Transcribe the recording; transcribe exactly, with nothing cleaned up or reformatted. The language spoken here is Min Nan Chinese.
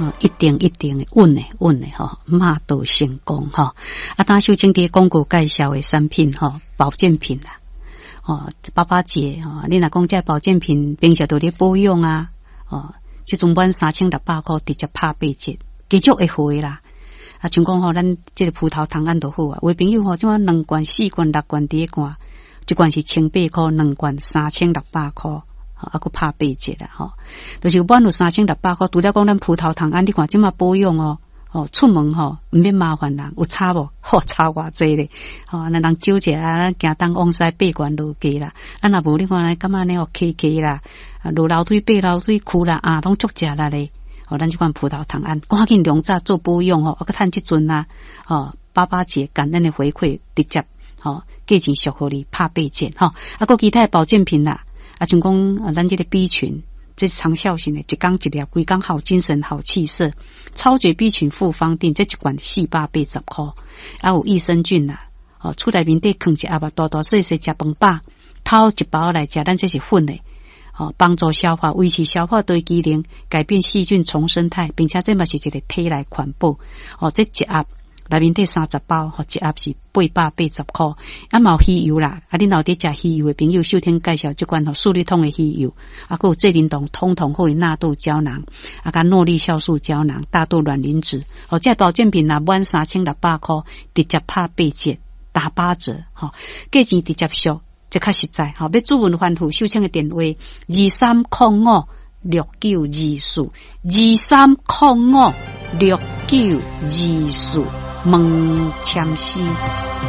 哦，一定一定會穩的穩的吼，馬到成功吼。啊，當秀清佇廣告介紹的產品吼，保健品啦，哦，爸爸節吼，你若講這保健品平常都咧保養啊，哦，這陣滿三千六百箍直接拍八折，繼續會回啦。啊，像講吼，咱這個葡萄糖胺就好啊。有的朋友吼，這款兩罐、四罐、六罐佇咧罐，一罐是千八箍，兩罐三千六百箍。啊，閣拍八折啦，吼，就是滿有三千六百箍。除了講咱葡萄糖胺，你看這馬保養哦，哦，出門吼毋免麻煩人，有差無？吼，差偌濟咧，吼，咱人少者啊，行東往西爬懸落低啦。啊，若無你看感覺呢哦，起起啦，落樓梯爬樓梯，跍啦啊，攏足食力咧。吼，咱這款葡萄糖胺，趕緊量早做保養吼，啊，閣趁這陣啊，吼，爸爸節感恩的回饋，直接吼，價錢俗予你拍八折吼，啊，閣其他的保健品啦。啊，像講啊，咱這個 B 群，這是長效型的，一工一粒，規工好精神、好氣色。超絕 B 群複方錠，這一罐四百八十箍。啊，有益生菌啦，哦，厝內面底囥一盒啊，大大細細食飯飽，偷一包來食，咱這是粉的，哦，幫助消化，維持消化的機能，改變細菌叢生態，並且這嘛是一個體內環保。哦，這一盒內面底三十包，吼，一盒是八百八十箍。啊，嘛有魚油啦，啊，恁老佇食魚油的朋友，秀天介紹這款吼，速率通的魚油，啊，閣有濟靈酮通通好的納豆膠囊，啊，佮諾麗酵素膠囊、大豆卵磷脂，哦，這保健品若滿三千六百箍，直接拍八折，打八折，吼，價錢直接俗，這較實在，吼，欲諮詢翻覆秀清的電話：二三空五六九二四，二三空五六九二四。問簽詩。